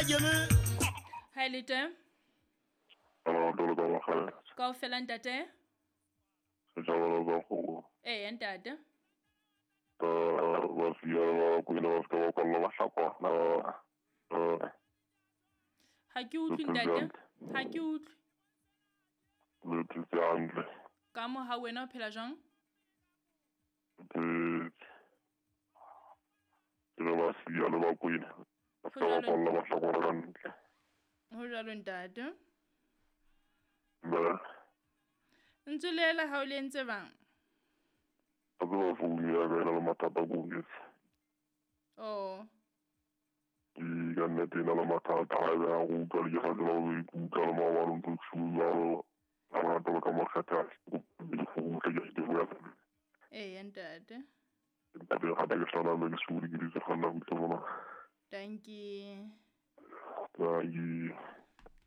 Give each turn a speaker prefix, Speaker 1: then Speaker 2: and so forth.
Speaker 1: Ha le teng? Kaofela ntate? Ee ntate. Ha ke utlwe ntate, ha ke utlwe. Ka mo ha wena o phela jwang? Ho jwalo ntate. Ntse lela ha o le entse bang? Oh.
Speaker 2: Ka nnete e na le mathata ha ebe ha re utlwa le ke sa tseba ho ikutlwa le maobane o ntso jwalo. Ha re rata ka makgetha ke bua.
Speaker 1: Ee ntate.
Speaker 2: Ntate gape ke hlala le ke sule ke ditse kganna butle mona.
Speaker 1: Dankie.
Speaker 2: Dankie.